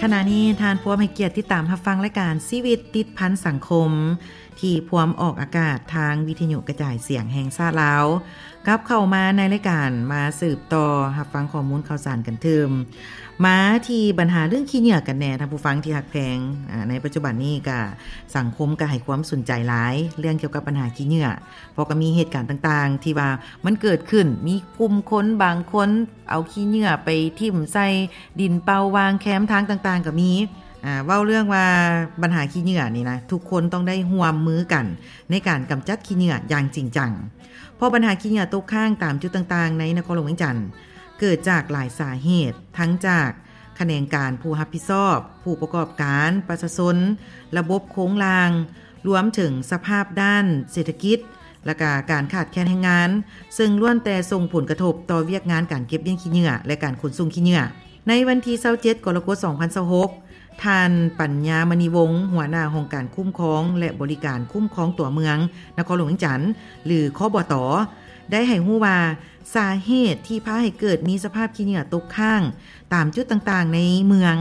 ຂະນະນີ້ທ່ານພວມໃຫ້ກຽດຕິດຕາມຮັບຟັງລາຍການຊີວິດຕິດພັນສັງຄົມ ທີ່ພວມອອກອາກາດທາງວິທະຍຸກະຈາຍສຽງແຫ່ງຊາດລາວ. ກັບເຂົ້າມາໃນລາຍການ ມາສືບຕໍ່ຮັບຟັງຂໍ້ມູນຂ່າວສານກັນຕື່ມ. ມາທີ່ບັນຫາເລື່ອງຂີ້ເຫຍື້ອກັນແດ່ ທ່ານຜູ້ຟັງທີ່ຮັກແພງ. ອາ ໃນປັດຈຸບັນນີ້ກະສັງຄົມກະໃຫ້ຄວາມສົນໃຈຫຼາຍ ເລື່ອງກ່ຽວກັບບັນຫາຂີ້ເຫຍື້ອ ເພາະກະມີເຫດການຕ່າງໆ ທີ່ວ່າມັນເກີດຂຶ້ນ ມີກຸ່ມຄົນບາງຄົນ ເອົາຂີ້ເຫຍື້ອໄປຖິ້ມໃສ່ດິນເປົ່າ ວາງແຄມທາງຕ່າງໆກະມີ. ອາ ເວົ້າເລື່ອງວ່າບັນຫາຂີ້ເຫຍື້ອນີ້ນະ ທຸກຄົນຕ້ອງໄດ້ຮ່ວມມືກັນໃນການກຳຈັດຂີ້ເຫຍື້ອຢ່າງຈິງຈັງ ເພາະບັນຫາຂີ້ເຫຍື້ອຕົກຄ້າງຕາມຈຸດຕ່າງໆໃນນະຄອນຫຼວງວຽງຈັນ ເກີດຈາກຫຼາຍສາເຫດ ທັງຈາກຂະແໜງການຜູ້ຮັບຜິດຊອບ, ຜູ້ປະກອບການ, ປະຊາຊົນ, ລະບົບໂຄງລ່າງ, ລວມເຖິງສະພາບດ້ານເສດຖະກິດ ແລະກະການຂາດແຄນແຮງງານ ເຊິ່ງລ້ວນແຕ່ສົ່ງຜົນກະທົບຕໍ່ວຽກງານການເກັບມ້ຽນຂີ້ເຫຍື້ອ ແລະການຂົນສົ່ງຂີ້ເຫຍື້ອ. ໃນວັນທີຊາວເຈັດ ກໍລະກົດ ສອງພັນຊາວຫົກ ທ່ານ ປັນຍາ ມະນີວົງ ຫົວໜ້າຫ້ອງການຄຸ້ມຄອງ ແລະບໍລິການຄຸ້ມຄອງຕົວເມືອງນະຄອນຫຼວງວຽງຈັນ ຫຼື ຄບຕ ໄດ້ໃຫ້ຮູ້ວ່າ ສາເຫດທີ່ພາໃຫ້ເກີດມີສະພາບຂີ້ເຫຍື້ອຕົກຄ້າງຕາມຈຸດຕ່າງໆໃນເມືອງ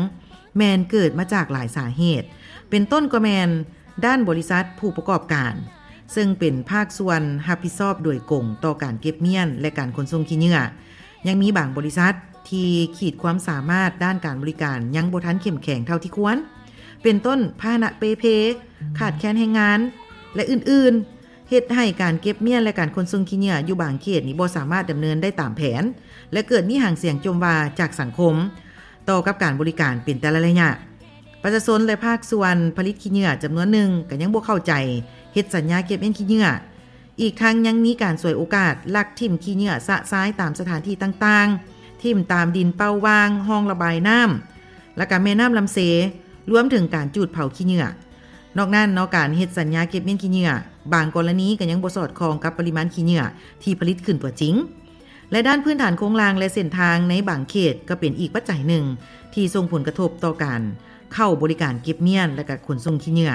ແມ່ນເກີດມາຈາກຫຼາຍສາເຫດ ເປັນຕົ້ນກໍແມ່ນ ດ້ານບໍລິສັດຜູ້ປະກອບການ ເຊິ່ງເປັນພາກສ່ວນຮັບຜິດຊອບໂດຍກົງຕໍ່ການເກັບມ້ຽນ ແລະການຂົນສົ່ງຂີ້ເຫຍື້ອ. ຍັງມີບາງບໍລິສັດທີ່ຂີດຄວາມສາມາດດ້ານການບໍລິການຍັງບໍ່ທັນເຂັ້ມແຂງເທົ່າທີ່ຄວນ ເປັນຕົ້ນ ພາຫະນະເປ່ເພ, ຂາດແຄນແຮງງານ ແລະອື່ນໆ ເຮັດໃຫ້ການເກັບມ້ຽນ ແລະການຂົນສົ່ງຂີ້ເຫຍື້ອຢູ່ບາງເຂດນີ້ບໍ່ສາມາດດຳເນີນໄດ້ຕາມແຜນ ແລະເກີດມີຫາງສຽງຈົ່ມວ່າຈາກສັງຄົມ ຕໍ່ກັບການບໍລິການເປັນແຕ່ລະໄລຍະ. ປະຊາຊົນ ແລະ ພາກສ່ວນຜະລິດຂີ້ເຫຍື້ອຈຳນວນໜຶ່ງກະຍັງບໍ່ເຂົ້າໃຈ ເຮັດສັນຍາເກັບມ້ຽນຂີ້ເຫຍື້ອ. ອີກທັງຍັງມີການສວຍໂອກາດ ລັກຖິ້ມຂີ້ເຫຍື້ອຊະຊາຍຕາມສະຖານທີ່ຕ່າງໆ, ຖິ້ມຕາມດິນເປົ່າ ວາງຮ່ອງລະບາຍນ້ຳ ແລະກະແມ່ນ້ຳລຳເຊ, ລວມເຖິງການຈູດເຜົາຂີ້ເຫຍື້ອ. ນອກນັ້ນເນາະ ການເຮັດສັນຍາເກັບມ້ຽນຂີ້ເຫຍື້ອ ບາງກໍລະນີກະຍັງບໍ່ສອດຄ່ອງກັບປະລິມານຂີ້ເຫຍື້ອທີ່ຜະລິດຂຶ້ນຕົວຈິງ. ແລະດ້ານພື້ນຖານໂຄງລ່າງ ແລະເສັ້ນທາງໃນບາງເຂດ ກໍເປັນອີກປັດໄຈໜຶ່ງທີ່ສົ່ງຜົນກະທົບຕໍ່ການເຂົ້າບໍລິການເກັບມ້ຽນ ແລະກະຂົນສົ່ງຂີ້ເຫຍື້ອ.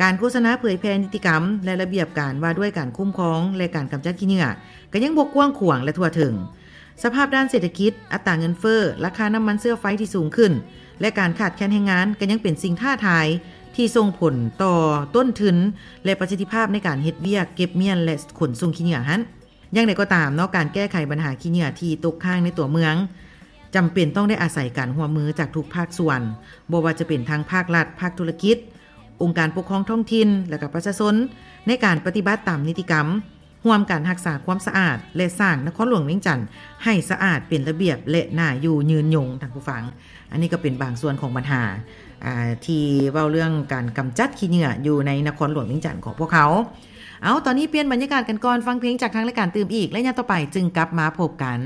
ການໂຄສະນາເຜີຍແຜ່ນິຕິກຳ ແລະລະບຽບການວ່າດ້ວຍການຄຸ້ມຄອງ ແລະການກຳຈັດຂີ້ເຫຍື້ອ ກໍຍັງບໍ່ກວ້າງຂວາງ ແລະທົ່ວເຖິງ. ສະພາບດ້ານເສດຖະກິດ, ອັດຕາເງິນເຟີ້, ລາຄານ້ຳມັນເຊື້ອໄຟທີ່ສູງຂຶ້ນ ແລະການຂາດແຄນແຮງງານ ກໍຍັງເປັນສິ່ງທ້າທາຍທີ່ສົ່ງຜົນຕໍ່ຕົ້ນທຶນ ແລະປະສິດທິພາບໃນການເຮັດວຽກເກັບມ້ຽນ ແລະຂົນສົ່ງຂີ້ເຫຍື້ອຫັ້ນ. ຢ່າງໃດກໍຕາມເນາະ ການແກ້ໄຂບັນຫາຂີ້ເຫຍື້ອທີ່ຕົກຄ້າງໃນຕົວເມືອງ ຈຳເປັນຕ້ອງໄດ້ອາໄສການຮ່ວມມືຈາກທຸກພາກສ່ວນ, ບໍ່ວ່າຈະເປັນທັງພາກລັດ, ພາກທຸລະກິດ, ອົງການປົກຄອງທ້ອງຖິ່ນ ແລະກະປະຊາຊົນ ໃນການປະຕິບັດຕາມນິຕິກຳ, ຮ່ວມກັນຮັກສາຄວາມສະອາດ ແລະ ສ້າງນະຄອນຫຼວງວຽງຈັນໃຫ້ສະອາດ, ເປັນລະບຽບ ແລະ ໜ້າຢູ່ຍືນຍົງ. ທ່ານຜູ້ຟັງ, ອັນນີ້ກໍເປັນບາງສ່ວນຂອງບັນຫາ ອ່າ ທີ່ເວົ້າເລື່ອງການກຳຈັດຂີ້ເຫຍື້ອຢູ່ໃນນະຄອນຫຼວງວຽງຈັນຂອງພວກເຮົາ. ເອົາ, ຕອນນີ້ປ່ຽນບັນຍາກາດກັນກ່ອນ, ຟັງເພງຈາກທາງລາຍການຕື່ມອີກ ແລະ ຍາມຕໍ່ໄປຈຶ່ງກັບມາພົບກັນ.